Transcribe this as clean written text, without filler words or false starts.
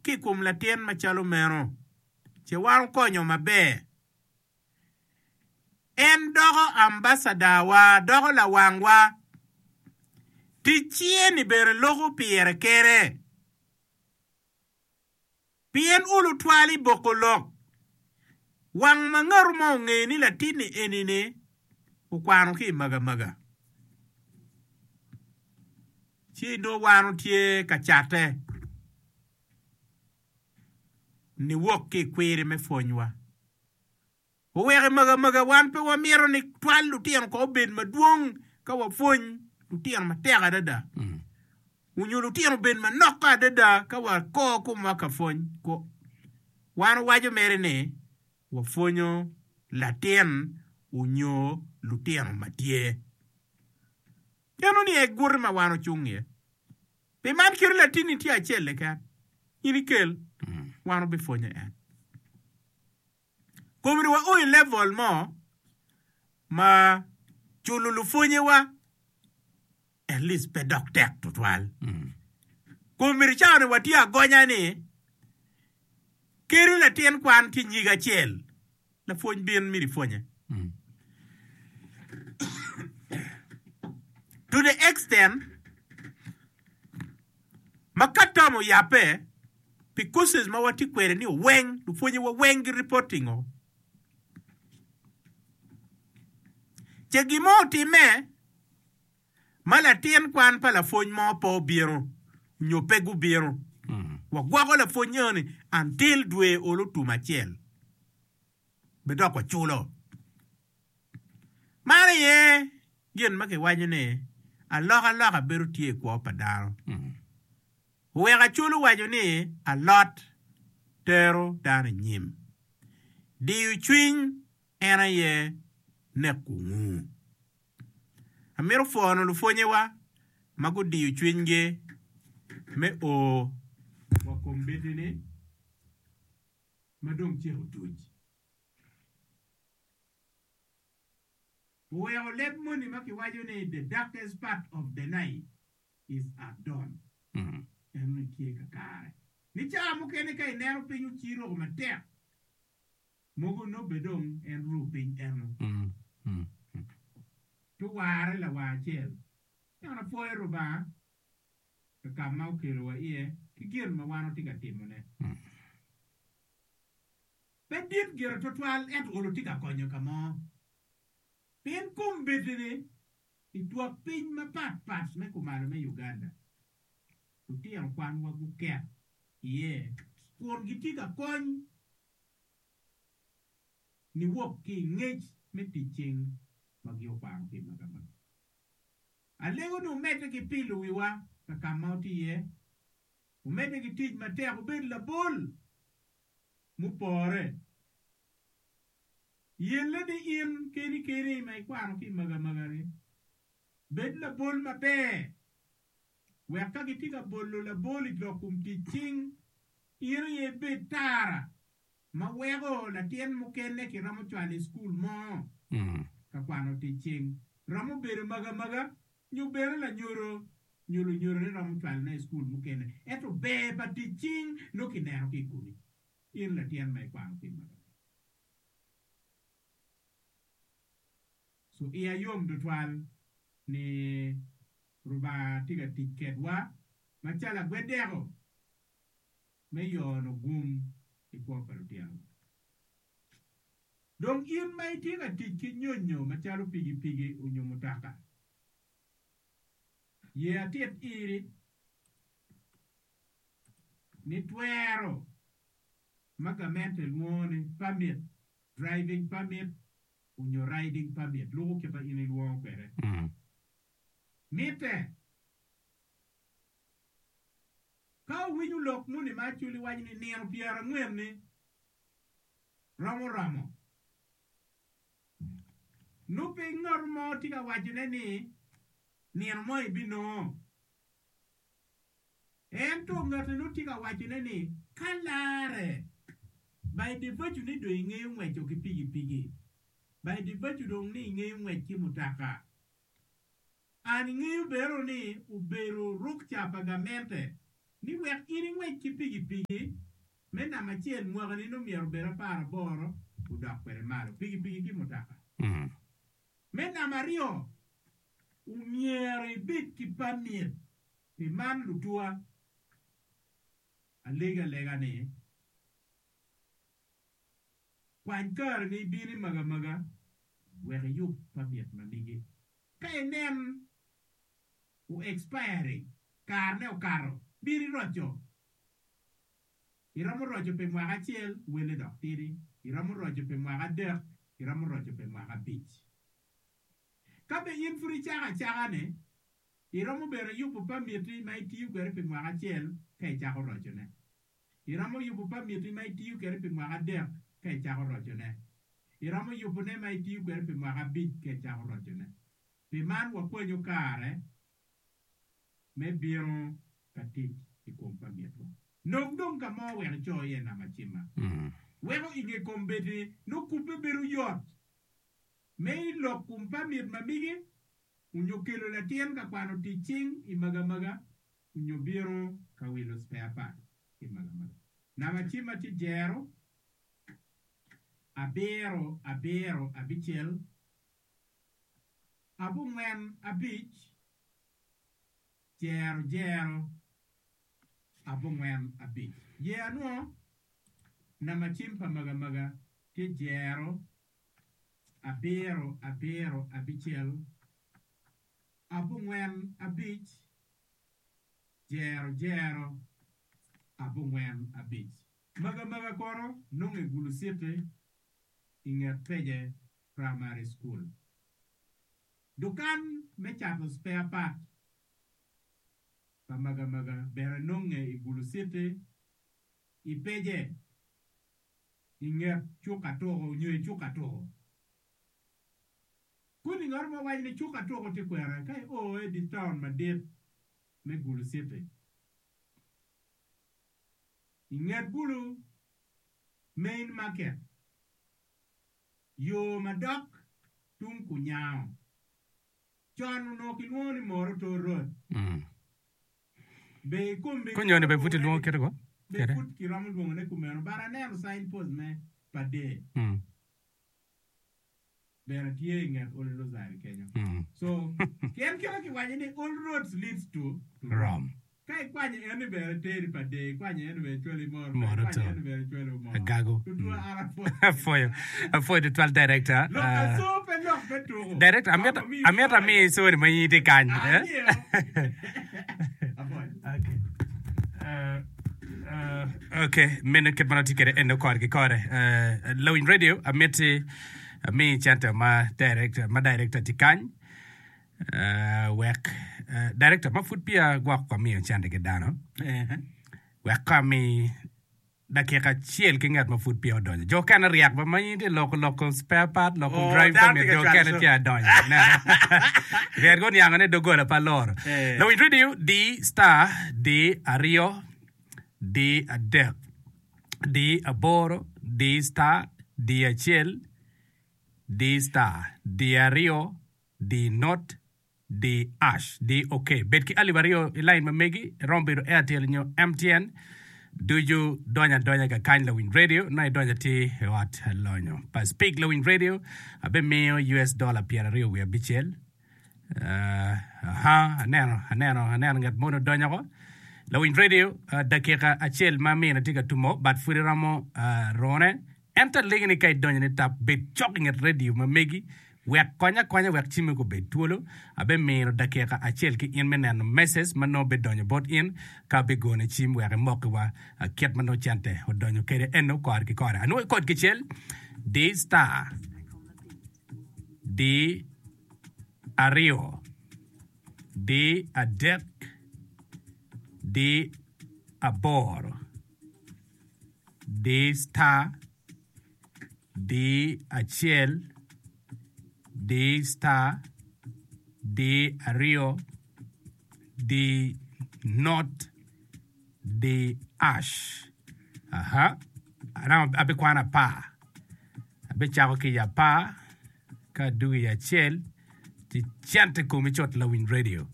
ki i kom latin macalo meno, ce wan okonyo maber. En doko ambasadawa, doko lawangwa. Tic cinge-ni bene loko pire kene. Pien olo twal i boko lok, wang ma ngatu mo ongeyo ni latinni eni-ni okwano ki i magamaga, ci nongo wan otye ka catte niwok ki i kwiri me pwonywa. Oweko i magamaga wan pe wamito ni twal lutino kong obed madwong ka wapwony lutino matek adada onyo lutino obed manok adada ka wakor komwa ka pwony. Wan owaco mere ni wapwonyo latin onyo lutino ma tye. Eno ni aye guti ma wan ocung iye. Pi man kit latinni tye acel keken, in ikel, wan wabipwonyo en. Komiti wa o i level mo ma culo lupwonyewa at least pe dok tek tutwal. Komiti cawa ni watye agonya ni kadi latin kwan tye nyige acel lapwony bin myero ipwonye. To the extent Ma ka tam oyabbe pi courses ma watye kwede ni weng, lupwonye wa weng gi reporting o. Ce gin mo otime ma latin kwan pa lapwony mo pe obino nyo pe gubino, wagwoko lapwony eni until dwe olo tum acel be dok waculo. Man aye gin ma kiwaco ni alokaloka bedo tye i kwo pa dano. Oweko Acholi owaco ni alot tero dano i nyim. Diyo cwiny en aye neko ngu. Amito pwono lupwonyewa ma gudiyo cwinygi me o wa kombeddi-ni ma dong ceng otuc. Oweko leb moni ma kiwaco ni the darkest part of the night is at dawn eno ni tye kakare. Ni cawa mukene ka ineno piny ociro matek, mogo nongo bene dong en ru piny eno ci oware lawang acel. Ento apwoyo Rubanga ka ka ma okelowa iye ki gin ma wan watye ka timone. Pe dit gire twatwal ento olo tye ka konyo ka mo. Pien kombeddi-ni i twak piny mapat pat me kumalo me Uganda, lutino kwanwa guket iye kun gitye ka kony niwok ki i ngec me tic cing ma gin okwano ki i Magamaga. Alego ni wumedde ki pilo wiwa ka ka ma wutye iye, wumedde ki tic matek wubed labol mupore. Yelle ni in keni keni ma ikwano ki i magamaga-ni, bed labol maber, wek ka gitye ka bolo labol i lok kom tic cing, in aye ibed tara ma weko latin mukene kiromo cwalo i cukul mo ka kwano tic cing. Romo bedo magamaga nyo bene lanyodo nyo lunyodone romo cwalone i cukul mukene, ento ber pa tic cing nongo kineno ki i komi, in latin ma ikwano ki i magamaga. So iya yom tutwal ni Rubanga tye ka tic kedwa macalo agwedeko me yono gum i kwo pa lutinowa. Dong in ma itye ka tic ki nyonyo macalo pikipiki onyo mutoka, ye atit iri ni twero ma gamente lwongo ni permit, driving permit onyo riding permit, luko kit ma in ilwongo kwede, mitte. Ka wuwinyo lok moni ma Acholi waco ni nino pyerangwen-ni romo romo, nongo pe ngat mo tye ka wacone ni nino mo ebinongo. Ento ngati nongo tye ka wacone ni ka larre, by the virtue ni dong ingeyo ngweco ki pikipiki, by the virtue dong ni ingeyo ngwec ki mutoka, An ingeyo bene ni obedo rukca pa gamente. Ni wek in ingwec ki pikipiki me namba acel mwakani nongo myero obed aparaboro odok kwede malo, pikipiki ki mutoka. Me namba aryo, omyero ibed ki permit. Pi man lutuwa, alegi alega ni, kwany kareni ibin i magamaga wek iyub permit ma megi. Ka inen o expiring, karene okato, bin iroco. Iromo roco pi mwaka acel, welle dok tidi. Iromo roco pi mwaka adek, iromo roco pi mwaka abic. Ka be in pud icako acaka-ni, iromo bene yubo pamiti ma itiyo kwede pi mwaka acel ka icako rocone. Iromo yubo pamiti ma itiyo kwede pi mwaka adek ka icako rocone. Iromo yubone ma itiyo kwede pi mwaka abic ka icako rocone. Pi man wakwanyo kare me bino ka tic i kom pamitwa. Nong dong ka mo wek ico iye namba cimma. Weko i nge kombeddi nongo kubbe bedo yot me i lok kom pamit ma migi onyo kelo latin ka kwano tic cing i magamaga onyo bino ka wilo spare part i magamaga. Namba cimma tye jero abiro abiro abicel abongwen abic jero jero abongwen abic. Ye anwo namba cim pa magamaga tye jero abiro abiro abicel abongwen abic jero jero abongwen abic. Magamaga kono nongo i Gulu City i nget Pece Primary School. Dukan me cato spare part pa magamaga bene nonge i Gulu City i Pece i nget cuk atuku nyo i cuk atuku. Koni ngat mo waco ni cuk atuku tye kwene ka io i dye taun madit me Gulu City. I nget Gulu Main Market, yo ma dok tung kunyango, con onongo kilwongo ni Moroto Road. Be i kombe Konyoni be pud ilwongo kite ko? Be Kede. pud kiromo lwongone kumeno, but aneno sign post me Padee. Bene tye i nget Old Rosary kenyo. So, pien kite kiwaco ni all roads leads to to Rome. Ka ikwanyo en ni bene teri pa dee, ikwanyo en ni bene cwali moro, Moro ikwanyo to. en ni bene cwali omoro. Agago. Tutwa an apwoyo. Apwoyo. Apwoyo tutwal director. Lok Ah, aco pe lok me tuko. Director, amito Wek omiyi amito amiyi sorry ma in itye kany. Eh? Angeyo. Apwoyo. Okay. Uh, uh, okay, meno kit ma nongo tye kwede eno kore ki kore. Uh, Lawiny radio, amiti ami cente ma director, ma director tye kany. Uh, wek uh, director ma pud peya gwok amiyo cente ki dano. Wek ko ami dakika acel ki ngat ma pud peya odonyo. Jo okene ryek ba ma in itye loko loko spare part, loko Oh, drive dano permit, tye ka jo cwalo okene co. tye adonyo. Ineno? Ryek guniango ni doggola pa loro. Eh. Lawiny radio D star D aryo D adek D aboro D star D acel D star D aryo D not D ash D ok. Bed ki alip aryo i lain ma megi, iromo bedo Airtel nyo MTN. Ducu donyo adonya kakany lawiny radio, nongo idonyo atir i ot lonyo pa Speak Lawiny Radio. Abimiyo US dollar pyeraryo wiye abicel. Uh, aha, aneno, aneno, aneno ngat moni odonyo ko. Lawiny radio, uh, dakika acel ma amine tye ka tumo, but pud iromo uh, rone. Ento alegi ni ka idonyo ni tap, bed cok i nget redio ma megi, wek kony akonya wek cimmi gubed twolo. Abimino dakika acel ki in me neno message ma nongo bidonyo bot in ka abigone cim wek imokiwa kit ma nongo cente odonyo kede eno kore ki kore. Anwoyo kod kicel, di star, di aryo, di adek, di aboro. Di star, di acel, di star, di aryo, di not, di ash. Aha. Anang abikwano apar. Abicako ki i apar, ka adwogo i acel, ci cente komi cut lawiny radio.